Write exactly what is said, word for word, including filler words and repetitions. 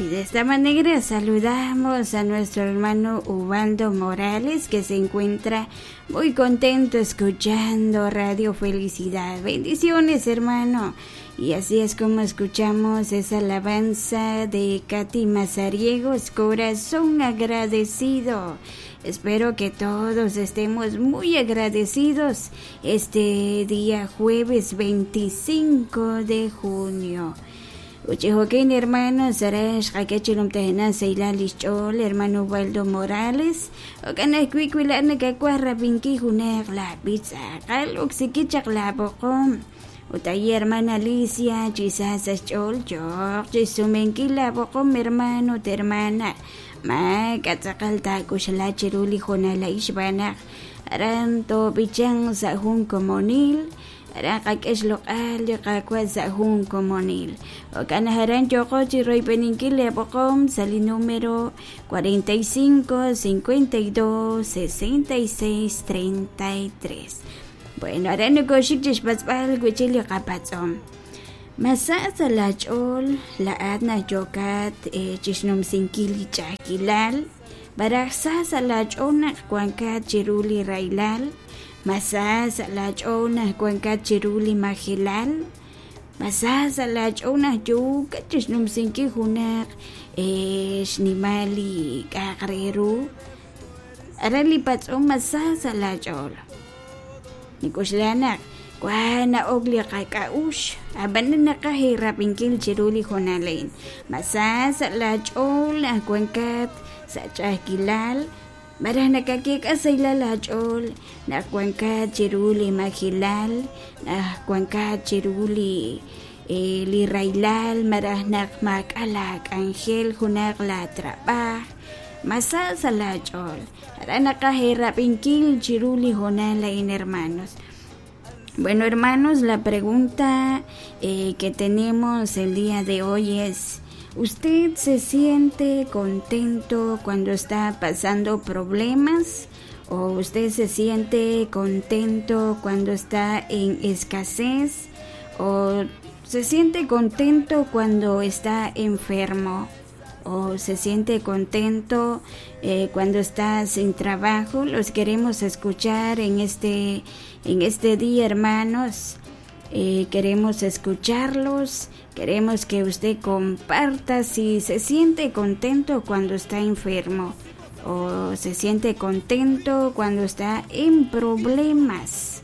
Y de esta manera saludamos a nuestro hermano Ubaldo Morales, que se encuentra muy contento escuchando Radio Felicidad. Bendiciones, hermano. Y así es como escuchamos esa alabanza de Katy Mazariegos, Corazón Agradecido. Espero que todos estemos muy agradecidos este día jueves veinticinco de junio. Uchijoquín, hermano, Sarash, Hakechilum Tehena, Seila Lichol, hermano Waldo Morales, Okana Cuicuilana, Cacuarra, Pinqui, Junek, la pizza, Caluxiquichak, la Bocom, Utayi, hermana Alicia, Chisasa, Chol, Chok, Chisumenquila, Bocom, hermano, te hermana, Ma, Katzakalta, Kushala, Chiruli, Jonala, Ishbana, Aranto, Bichan, Sahun, Comonil, Raqak'ex loq'al liqakwa sa' jun komonil. Okanajaran yoqo chiroypeninkil lepoqom sali número cuarenta y cinco, cincuenta y dos, sesenta y seis, treinta y tres. Bueno, ahora no koshik chishpatzpal wichil liqapatz'om. Masa sa la ch'ol, la adna yokat chishnumsinkil ch'akilal, baraj sa sa la ch'ol naq wankat chiruli railal, Masa sa la ch'ona wankat chiruli majilal, masa sa la ch'ona yuka chishnumsinki junaq xnimali k'aqreru, arali patz'om masa sa la ch'ol. Nikuxlanaq wana ogli qak'a'ux ab'an naqaj rapinkil chiruli jonalain. Masa sa la ch'ol wankat sa ch'ajkilal, Maraj nakakik asayla la ch'ol, nakwankat chiruli majilal, nakwankat chiruli eh, li railal, maraj nakmak alak angel junak la trabaj, masa sa la ch'ol. Ara nakajerrapinkil chiruli jonala in hermanos. Bueno, hermanos, la pregunta eh, que tenemos el día de hoy es: ¿usted se siente contento cuando está pasando problemas? ¿O usted se siente contento cuando está en escasez? ¿O se siente contento cuando está enfermo? ¿O se siente contento eh, cuando está sin trabajo? Los queremos escuchar en este, en este día, hermanos. Eh, queremos escucharlos, queremos que usted comparta si se siente contento cuando está enfermo o se siente contento cuando está en problemas.